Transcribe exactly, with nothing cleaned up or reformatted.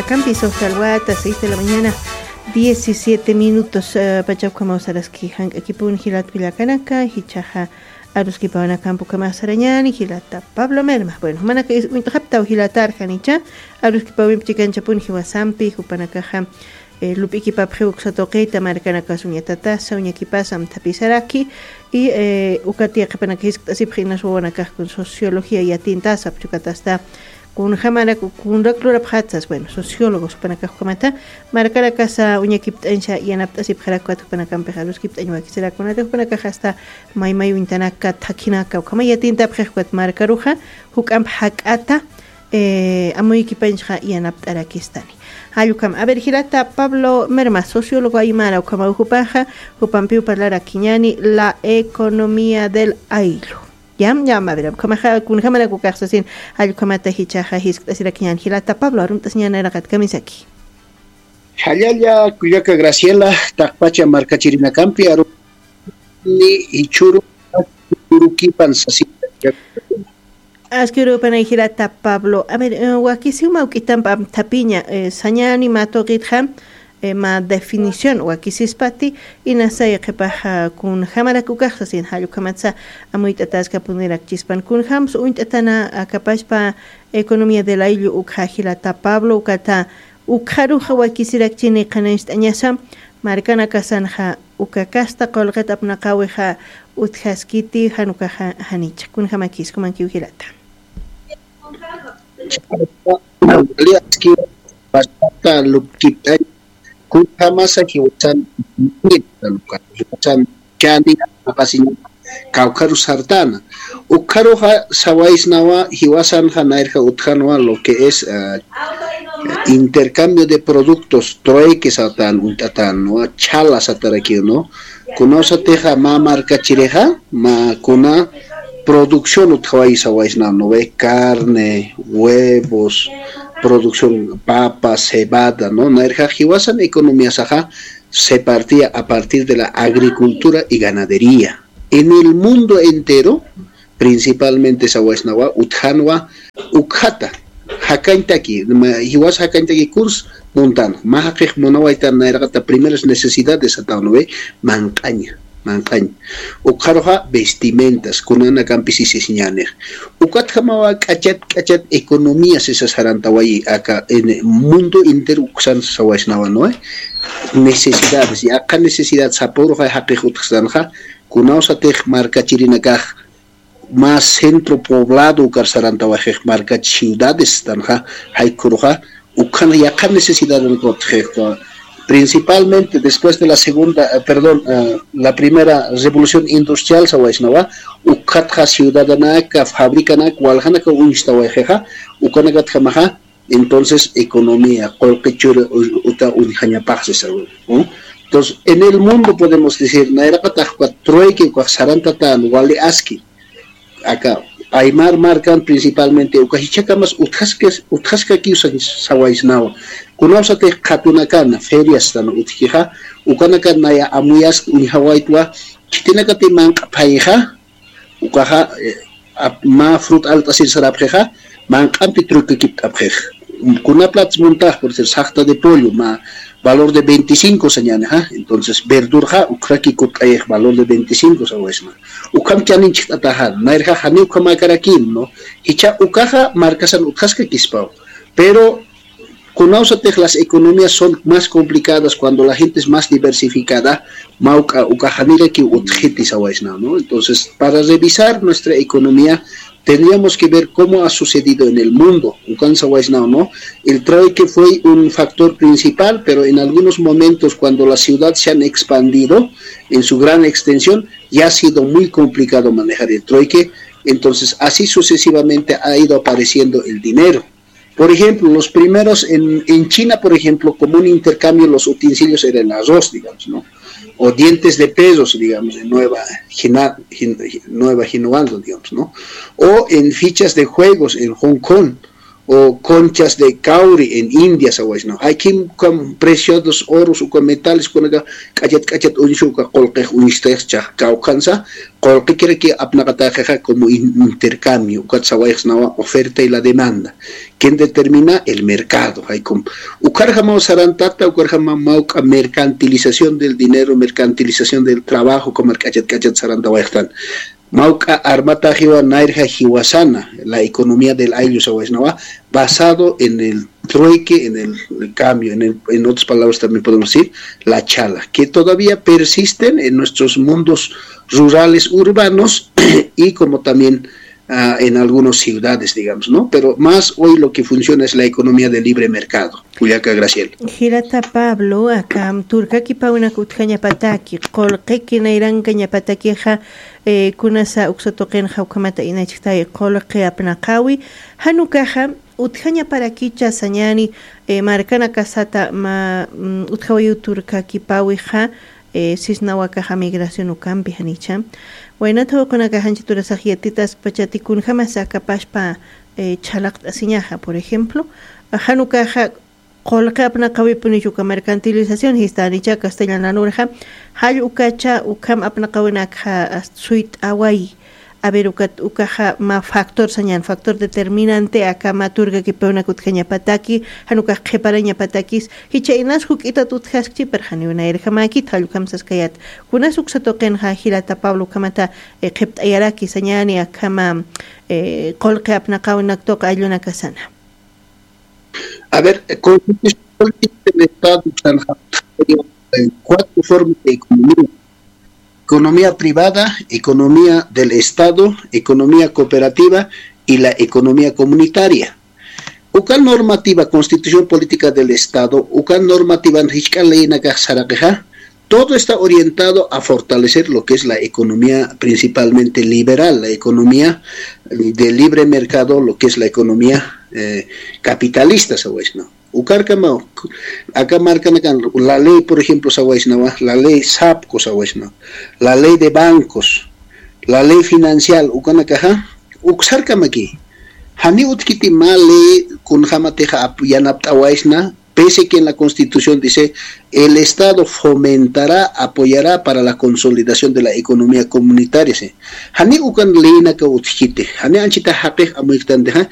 Akampi sojtalwata, seis de la mañana, diecisiete minutos, eh, pacha ukhamaw saraski jank'akipun jilat kullakanaka, jichhaxa aruskipawanakamp ukhamax sarañäni, jilata Pablo Merma. Bueno, jumanaka is-, uñt'xaptaw jilatar janicha, aruskipawimp chikanchapun jiwasampi, jupanakaxa, eh, lup'ikipapxi uksa tuqita, markanakas uñatatasa, uñakipasa amthapisaraki, y, eh, ukat yaqhipanaka jiskt'asipxi inas wawanakax kun sociología yatintasa, apchukatasta, kunjamarak, kunrak lurapxatsas, bueno, sociólogos jupanakax ukhamata, markarakasa uñakipt'añsa yanapt'asipxarak ukat jupanakampix aruskipt'añ wakisirakunata, jupanakax hasta maymay uñtanaka, thakhinaka, ukhama yatintapxix ukat markaruxa, juk'amp jak'ata, eh, amuykipañsa yanapt'arakistani. Jall ukhama. A ver, jilata Pablo Merma, sociólogo aymara, ukhama jupaxa, jupampiw parlarakiñäni, la economía del ayllu. Ya, ya, a ver, ukhamaxa, kunjamarak ukax sasin, jall ukhamata jichhaxa jiskt'asirakiñäni, jilata Pablo, arumt'asiñäni nayraqat kamisaki. Jallalla, kullaka Graciela, taqpacha markachirinakampi, aru-, ni jichhüru, jichhürukipan sasin. Askirupanay jilata Pablo. A ver, eh, wakisiw mä juk'amp amthapiña, eh, sañäni mä tuqitxa, eh, mä definición wakisispati, inasa yaqhipaxa kunjamarak ukax sasin, jall ukhamatsa amuyt'ataskapunirakspan kunjams uñt'atana akapachpa economía del ayllu ukxa jilata Pablo, ukata ukxaruxa wakisirakchini qhanañcht'añasa, markanakasanxa uka kasta qullqit apnaqäwixa utjaskiti, jan ukaxa janicha. Kunjamakis, jumankiw jilata. Wali aski, bastata lupkipt'añ, kunjamasa jiwasan, jiwasan, chani, apasiñ, kawkharu sartana. Ukxaruxa sawaysnawa, jiwasanxa nayrja utjanwa lo que es, ah, intercambio de productos, trueque satan, uñt'atan, ¿no? Chala satarakiw, ¿no? Kunawsatixa mä markachirixa, mä kuna producción utjawayi sawaysna, ¿no ve? Carne, huevos, producción papa, cebada, ¿no? Nayrja jiwasan economiasaxa se partía a partir de la agricultura y ganadería. En el mundo entero, principalmente sawaysnawa, utjanwa, ukxata, jakañtaki, ma-, jiwas jakañtaki kurs muntan, mä jaqix munawaytan nayraqata primeras necesidades sataw, ¿no ve? Manq'aña, manq'aña. Ukxaruxa vestimentas, kunanakampi sisisiñänix. Ukatjamawa k'achat, k'achat economía sisa sarantawayi aka, en el mundo entero uksan sawaysnawa, ¿no ve? Necesidades, yaqha necesidad sapüruxa jaqix utjsanxa, kunawsatix markachirinakax, más centro poblado ukar sarantawaxix markach ciudades tanxa, jaykuruxa, ukxan yaqha necesidad utjix, principalmente después de la segunda, eh, perdón, eh, la primera revolución industrial sawaysnawa, ukxatxa ciudadanaka, fabricanaka, waljanaka uñstawaxixa, ukanakatjamaxa, entonces economía, qullqi churi u-, uta uñjañapaxsi sawa, ¿no? Entonces, en el mundo podemos decir, nayraqatax uka trueque ukax sarantatän wali aski, aka Aymar markan principalmente, uka jichhakamas utjaskis-, utjaskakiw sa-, sawaysnawa. Kunawsatix qhatunakana, ferias tan utjkixa, ukanakan naya amuyask uñjawaytwa, khitinakati manq'a phayxa, ukaxa, eh, ap-, mä frut alt'asir sarapxixa, manq'ampi trueque kipt'apxix. Kuna plats muntax, por decir, saxta de pollo, mä valor de veinticinco sañänixa, entonces verdurxa, ukxaki kut'ayix valor de veinticinco sawaysma. Ukham chanin chhit'ataxa, nayrxa janiw ukhamäkarakim, ¿no? Jichha ukaxa markasan utjaskakispaw. Pero, kunawsatix las economías son más complicadas cuando la gente es más diversificada, mä uka, uka janirakiw utjiti sawaysna, ¿no? Entonces, para revisar nuestra economía, tendríamos que ver cómo ha sucedido en el mundo. Ukan sawaysna, ¿no? El trueque fue un factor principal, pero en algunos momentos, cuando la ciudad se han expandido en su gran extensión, ya ha sido muy complicado manejar el trueque. Entonces, así sucesivamente ha ido apareciendo el dinero. Por ejemplo, los primeros en, en China, por ejemplo, como un intercambio, los utensilios eran arroz, digamos, ¿no? O dientes de perros, digamos, en Nueva Gina-, Gin-, Nueva Ginuando, digamos, ¿no? O en fichas de juegos en Hong Kong, o conchas de cowrie en India sawaysnawa. Jaykim ukham preciosos oros, uka metales, ukanaka k'achat k'achat uñsu, uka qullqix uñstix chax kawkhansa, qullqikiraki apnaqataqixa como in-, intercambio, ukat sawayxsnawa oferta y la demanda. ¿Quién determina? El mercado, jaykum. Ukarjamaw sarantata, ukarjamaw mawk'a mercantilización del dinero, mercantilización del trabajo, ukamar k'achat k'achat sarantawayxtan. Mawk'a armataxiwa nayrja jiwasana, la economía del ayllu sawaysnawa, basado en el trueque, en el cambio, en el, en otras palabras también podemos decir, la chala, que todavía persisten en nuestros mundos rurales, urbanos y como también, ah, en algunas ciudades, digamos, ¿no? Pero más hoy lo que funciona es la economía de libre mercado. Juliaca Graciela. Jilata Pablo, aka turkakipawnak utjañapataki, qullqiki nayrankañapatakixa, eh, kunasa uksa tuqinxa ukhamata inachktay qullqi apnaqawi, janukaxa utjañaparakicha sañani, eh, markanakasata mä, mm, utjawayu turkakipawixa, eh, sisnawakaxa migración ukampi janicha. Waynata uqunakaxa ancha turasax yatitaskpachati kunjamasa akapaspa, eh, chhalaqt'asiñaxa, por ejemplo, janukaxa qullqi apnaqawipunichu uka mercantilización jistanicha castellananurxa, jall ukacha ukham apnaqawinakxa suyt'away. A ver, ukat, ukaxa mä factor sañan, factor determinante aka mä turkakipiwnak utjañapataki, jan ukax qhiparañapatakis, jichha inas juk'itat utjaskchi, pero janiw nayrjamäkit, jall ukham saskayät. Kunas uksa tuqinxa jilata Pablo ukhamata, eh, qhipt'ayaraki sañani akhama, eh, qullqi apnaqawinaktuq ayllunakasana. A ver, eh, Constitución Política del Estado, eh, cuatro formas de economía. Economía privada, economía del Estado, economía cooperativa y la economía comunitaria. Uka normativa, Constitución Política del Estado, uka normativa jichk'a leynakax saraqixa, todo está orientado a fortalecer lo que es la economía principalmente liberal, la economía de libre mercado, lo que es la economía, eh, capitalista, sawaysna. Ukarkama, aka markanakan, la ley, por ejemplo, sawaysnawa, la ley SAPCO sawaysnawa, la ley de bancos, la ley financial, ukanakaxa, uksarkamaki. Jani utjkiti mä ley kunjamatixa ap-, yanapt'awaysna, pese que en la Constitución dice, "El Estado fomentará, apoyará para la consolidación de la economía comunitaria", ¿sí? Jani ukan leynaka utjkiti, jani anchita jaqix amuytantixa,